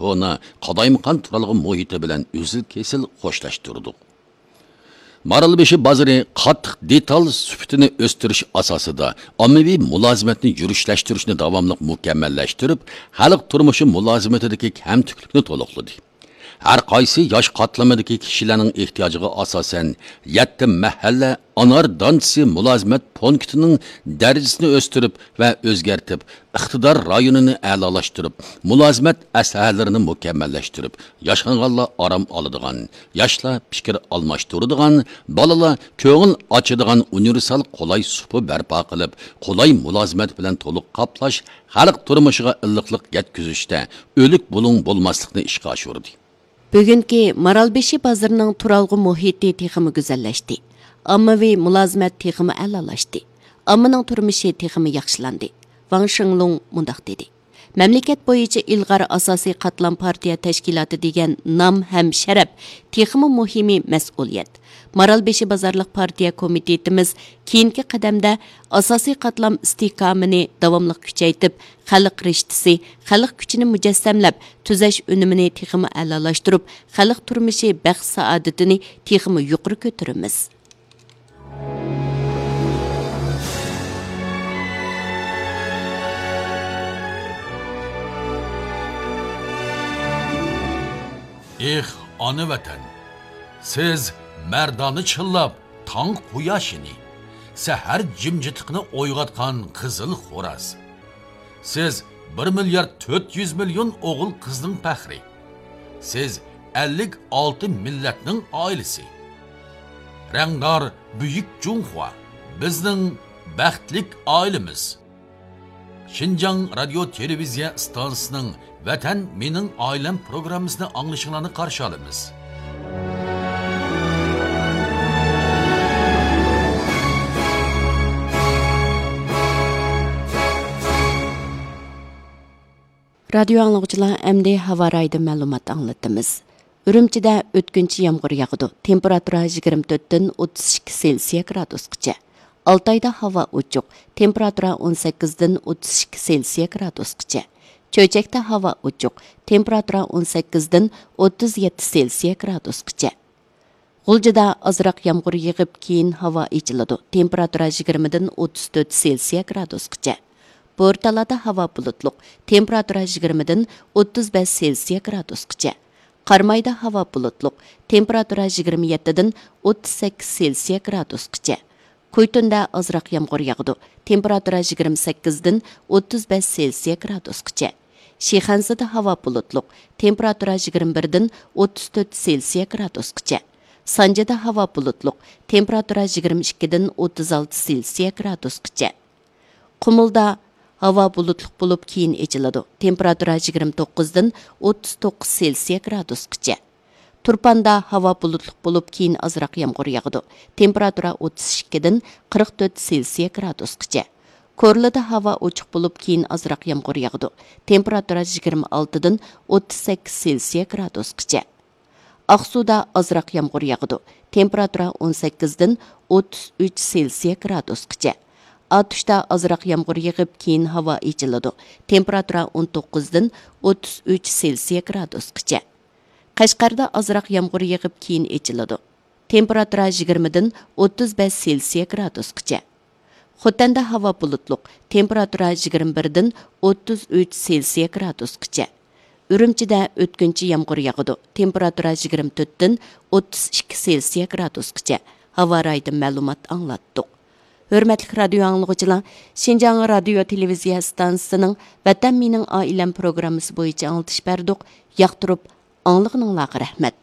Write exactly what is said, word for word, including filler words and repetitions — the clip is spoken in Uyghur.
كونا، قالايمىقان تۇرالغۇ مۇھىتى بىلەن ئۈزۈل-كېسىل خوشلاشتۇردۇق. مارالبېشى بازىرى قاتتىق دېتال سۈپىتىنى ئۆستۈرۈش ئاساسىدا ئاممىۋى مۇلازىمەتنى يۈرۈشلەشتۈرۈشنى داۋاملىق مۇكەممەللەشتۈرۈپ، خەلق تۇرمۇشى مۇلازىمىتىدىكى كەمتۈكلۈكنى تولۇقلىدى. ھەر قايسى ياش قاتلىمىدىكى كىشىلەرنىڭ ئېھتىياجىغا ئاساسەن، يەتتە مەھەللە ئانار دانچىسى مۇلازىمەت پونكىتىنىڭ دەرىجىسىنى ئۆستۈرۈپ ۋە ئۆزگەرتىپ، ئىقتىدار رايونىنى ئەلالاشتۇرۇپ، مۇلازىمەت ئەسلىھەلىرىنى مۇكەممەللەشتۈرۈپ، ياشانغانلار ئارام ئالىدىغان، ياشلار پىكىر ئالماشتۇرىدىغان، بالىلار كۆڭۈل ئاچىدىغان ئۇنىۋېرسال قولاي سۇپا بەرپا قىلىپ، قولاي مۇلازىمەت بىلەن تولۇق قاپلاش، خەلق تۇرمۇشىغا ئىللىقلىق يەتكۈزۈشتە ئۆلۈك بۇلۇڭ بولماسلىقنى ئىشقا ئاشۇردى. بۈگۈنكى مارالبېشى بازىرىنىڭ تۇرالغۇ مۇھىتى تېخىمۇ گۈزەللەشتى. ئاممىۋى مۇلازىمەت تېخىمۇ ئەلالاشتى. ئاممىنىڭ تۇرمۇشى تېخىمۇ ياخشىلاندى. ۋاڭ شېڭلۇڭ مۇنداق دېدى: مەملىكەت بويىچە ئىلغار ئاساسىي قاتلام پارتىيە تەشكىلاتى دېگەن نام ھەم شەرەپ، تېخىمۇ مۇھىمى مەسئۇلىيەت. مارالبېشى بازارلىق پارتىيە كومىتېتىمىز كېيىنكى قەدەمدە ئاساسىي قاتلام ئىستىھكامىنى داۋاملىق كۈچەيتىپ، خەلق رىشتىسى، خەلق كۈچىنى مۇجەسسەملەپ، تۈزەش ئۈنۈمىنى تېخىمۇ ئەلالاشتۇرۇپ، خەلق تۇرمۇشى بەخت-سائادىتىنى تېخىمۇ يۇقىرى كۆتۈرىمىز. ئېھ، ئانا ۋەتەن! سىز مەردانە چىللاپ، تاڭ قۇياشىنى، سەھەر جىمجىتلىقىنى ئويغاتقان قىزىل خوراز. سىز بىر مىليارد تۆت يۈز مىليون ئوغۇل-قىزنىڭ پەخرى. سىز ئەللىك ئالتە مىللەتنىڭ ئائىلىسى. رەڭدار بۈيۈك جۇڭخۇا، بىزنىڭ بەختلىك ئائىلىمىز. شىنجاڭ رادىيو تېلېۋىزىيە ئىستانسىسىنىڭ ۋەتەن مېنىڭ ئائىلەم پروگراممىسىنى ئاڭلىشىڭلارنى قارشى ئالىمىز. رادىيو ئاڭلىغۇچىلار، ئەمدى ھاۋا رايىدىن مەلۇمات ئاڭلىتىمىز. ئۈرۈمچىدە ئۆتكۈنچى يامغۇر ياغىدۇ. تېمپېراتۇرا يىگىرمە تۆتتىن ئوتتۇز ئىككى سېلسىيە گرادۇسقىچە. ئالتايدا ھاۋا ئوچۇق. تېمپېراتۇرا ئون سەككىزدىن ئوتتۇز ئىككى سېلسىيە گرادۇسقىچە. چۆچەكتە ھاۋا ئوچۇق. تېمپېراتۇرا ئون سەككىزدىن ئوتتۇز يەتتە سېلسىيە گرادۇسقىچە. غۇلجىدا ئازراق يامغۇر يېغىپ، كېيىن ھاۋا ئېچىلىدۇ. تېمپېراتۇرا يىگىرمىدىن ئوتتۇز تۆت سېلسىيە گرادۇسقىچە. بورتالادا ھاۋا بۇلۇتلۇق. تېمپېراتۇرا يىگىرمىدىن ئوتتۇز بەش سېلسىيە گرادۇسقىچە. قارامايدا ھاۋا بۇلۇتلۇق. تېمپېراتۇرا يىگىرمە يەتتىدىن ئوتتۇز سەككىز سېلسىيە گرادۇسقىچە. كۇيتۇندا ئازراق يامغۇر ياغىدۇ. تېمپېراتۇرا يىگىرمە سەككىزدىن ئوتتۇز بەش سېلسىيە گرادۇسقىچە. شىخەنزىدە ھاۋا بۇلۇتلۇق. تېمپېراتۇرا يىگىرمە بىردىن ئوتتۇز تۆت سېلسىيە گرادۇسقىچە. سانجىدا ھاۋا بۇلۇتلۇق. تېمپېراتۇرا يىگىرمە ئىككىدىن ئوتتۇز ئالتە سېلسىيە گرادۇسقىچە. قۇمۇلدا ھاۋا بۇلۇتلۇق بولۇپ، كېيىن ئېچىلىدۇ. تېمپېراتۇرا يىگىرمە توققۇزدىن ئوتتۇز توققۇز سېلسىيە گرادۇسقىچە. تۇرپاندا ھاۋا بۇلۇتلۇق بولۇپ، كېيىن ئازراق يامغۇر ياغىدۇ. تېمپېراتۇرا ئوتتۇز ئىككىدىن قىرىق تۆت سېلسىيە گرادۇسقىچە. كورلىدا ھاۋا ئوچۇق بولۇپ، كېيىن ئازراق يامغۇر ياغىدۇ. تېمپېراتۇرا يىگىرمە ئالتىدىن ئوتتۇز سەككىز سېلسىيە گرادۇسقىچە. ئاقسۇدا ئازراق يامغۇر ياغىدۇ. تېمپېراتۇرا ئون سەككىزدىن ئوتتۇز ئۈچ سېلسىيە گرادۇسقىچە. ئاتۇشتا ئازراق يامغۇر يېغىپ، كېيىن ھاۋا ئېچىلىدۇ. تېمپېراتۇرا ئون توققۇزدىن ئوتتۇز ئۈچ سېلسىيە گرادۇسقىچە. قەشقەردە ئازراق يامغۇر يېغىپ، كېيىن ئېچىلىدۇ. تېمپېراتۇرا يىگىرمىدىن ئوتتۇز بەش سېلسىيە گرادۇسقىچە. خوتەندە ھاۋا بۇلۇتلۇق، تېمپېراتۇرا يىگىرمە بىردىن ئوتتۇز ئۈچ سېلسىيە گرادۇسقىچە. ئۈرۈمچىدە ئۆتكۈنچى يامغۇر ياغىدۇ، تېمپېراتۇرا يىگىرمە تۆتتىن ئوتتۇز ئىككى سېلسىيە گرادۇسقىچە. ھاۋا رايىدىن مەلۇمات ئاڭلاتتۇق. ھۆرمەتلىك رادىيو ئاڭلىغۇچىلار، شىنجاڭ رادىيو تېلېۋىزىيە ئىستانسىسىنىڭ ۋەتەن مېنىڭ ئائىلەم پروگراممىسى بويىچە ئاڭلىتىش بەردۇق. ياقتۇرۇپ ئاڭلىغىنىڭلارغا رەھمەت.